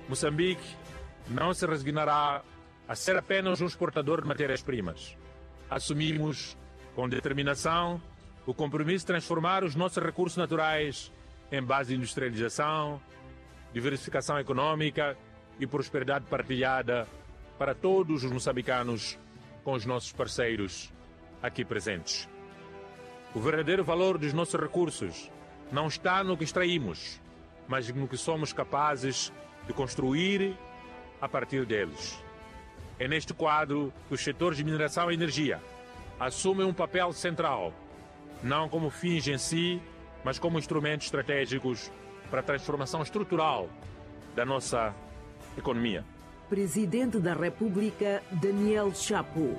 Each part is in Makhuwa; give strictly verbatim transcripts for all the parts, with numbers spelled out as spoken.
Moçambique não se resignará a ser apenas um exportador de matérias-primas. Assumimos, com determinação, o compromisso de transformar os nossos recursos naturais em base de industrialização, diversificação econômica e prosperidade partilhada para todos os moçambicanos com os nossos parceiros aqui presentes. O verdadeiro valor dos nossos recursos não está no que extraímos, mas no que somos capazes de construir a partir deles. É neste quadro que os setores de mineração e energia assumem um papel central, não como fins em si, mas como instrumentos estratégicos para a transformação estrutural da nossa economia. Presidente da República, Daniel Chapo.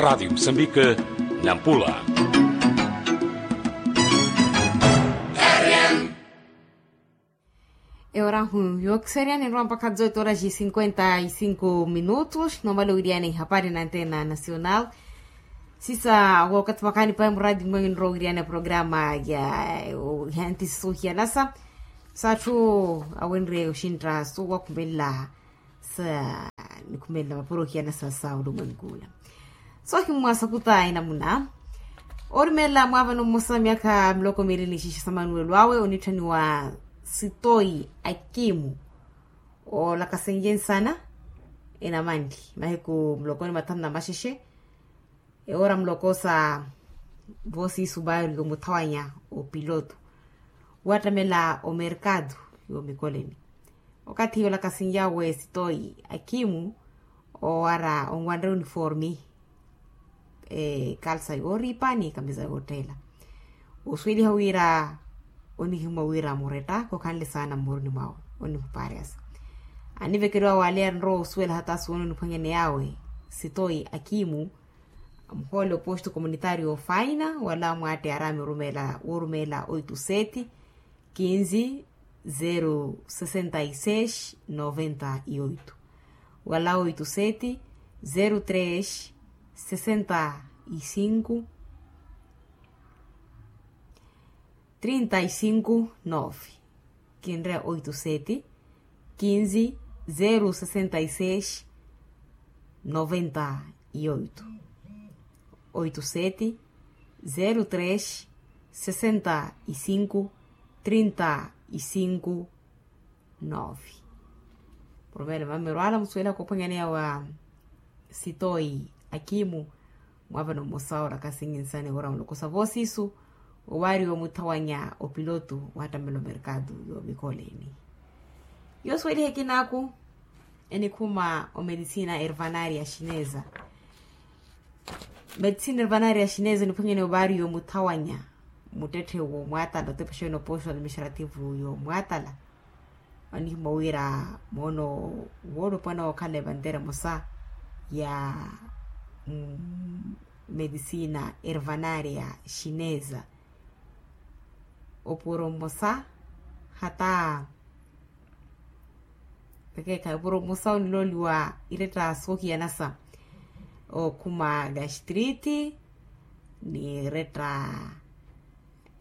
Rádio Moçambique, Nampula. Eorahu yookiseryani nrowa mpakha dezoito horas e cinquenta e cinco minutos. Nomala owiriyana ihapari na antena nacional. Sisa wakati makaani pahi muradi mwengi nrowa owiriyana programa ya hantisi sohiyanasa. Satthu awenre oxintta sowakhumela sa nikhumelela mapuro ohiyanasa sa olumwenkula. Sohimmwa sakuta enamuna orumelela mwaavano mmosa myakha miloko miili ni xixa sa manuwelo awe onitthaniwa sitoyi akimu. Olakasenje nsana enamanli mahiku muloko ni mathanu na maxexe. Ewoora muloko sa voosiisu baari omuthawanya opiloto wattamela omerkado yoomikoleni. Okathi olakasinyawe sitoyi akimu owara onwanre uniformi, kalsa yooripa ni kamisa yootteela. Osuweliha wira onihimwa wira muretta khokhanle saana mmuruni mwawe onimupaariyasa. Anivekeriwa waaleya nrowa osuwela hata suwene oniphwanyaney'awe sitoyi akimu. Muhoole oposto komunitario faina wala mwaatte arami orumeela oito sete quinze zero sessenta e seis noventa e oito wala oito sete zero três sessenta e cinco trinta e cinco nove. Kinreya oito sete quinze zero sessenta e seis noventa e oito. Oito sete zero três sessenta e cinco trinta e cinco nove. Poromelo mamirwala musuwela koophwanyaneya wa sitoyi akimu. Mwaavano mmosa oora kasinginsani oora mulokosa voosiisu owaariwa omuthawanya opiloto wattamela omerkado yoomikoleni. Yoosuweliha ekinaaku enikhuma omelisina ervanaria xineza. Melisina ervanaria xineza eniphwanyene owaariwa omuthawanya muttetthe woomuatala otepa xeeni oposto administrativo yoomuatala. Anihimwa wira moono woolupwana wookhala evantere emosa ya medisina ervanaria xineza. Opuro mmosa hata pekeekhayi opuro mmosa onilooliwa iretta soohiyanasa okhuma gastriti ni iretta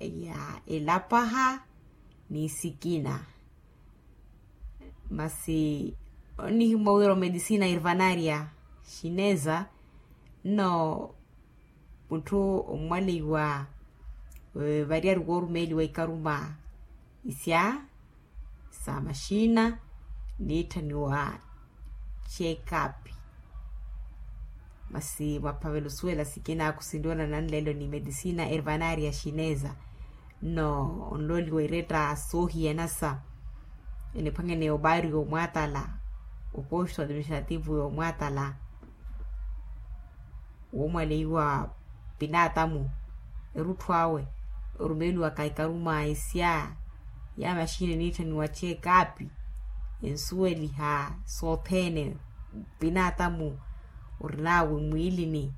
ya elapaha ni sikina. Masi onihimwa wira omelisina irvanaria xineza nno mutthu omwaleiwa variyari woorumeeliwa ikaruma isya sa maxina niitthaniwa check up. Masi mwaphavela osuwela sikina khusinriwa na nanlelo ni medisina ervanaria xineza nno onlooliwa iretta soohiyanasa eniphwanyene obaari yoomuatala oposto administrativo yoomuatala woomwaleiwa pinaatamu erutthu awe orumeeliwaka ikaruma isya ya maxini eniitthaniwa check up ensuweliha sothene pinaatamu orinawe mwiilini.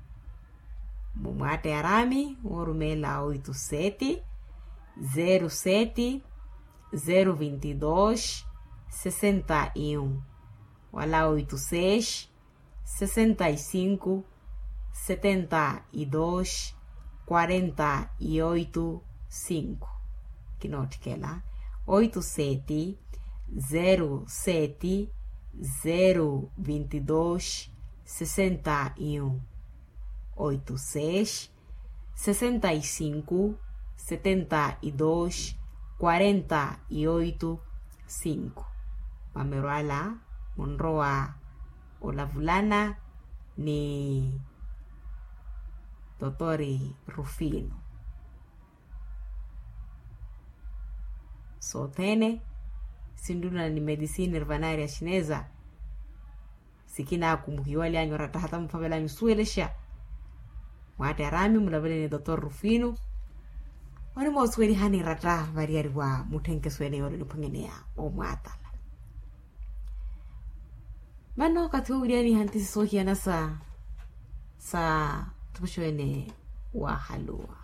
Mumwaatte arami woorumeela oito sete zero sete zero vinte e dois sessenta e um wala oito seis sessenta e cinco setenta y dos, quarenta y oito, cinco. Kinootthikela, oito sete, zero sete, zero vinte y dos, sessenta y um. Oito seis, sessenta y cinco, setenta y dos, quarenta y oito, cinco. Mamerwala munrowa olavulana ni totori Rufino. Sothene sinrulana ni medicine ervanari ya xineza. Sikina akumuhiwaly'anyu oratta hata muphavelanyu suwelexa. Mwaatte arami mulavele ni dotor Rufino, onimosuwelihani ratta variyari wa mutthenkeso ene yoole oniphwangeneya omwaatala. Mano okathi wowiriyaniha ntisi soohiyana sa sa thupuxo ene wahaluwa.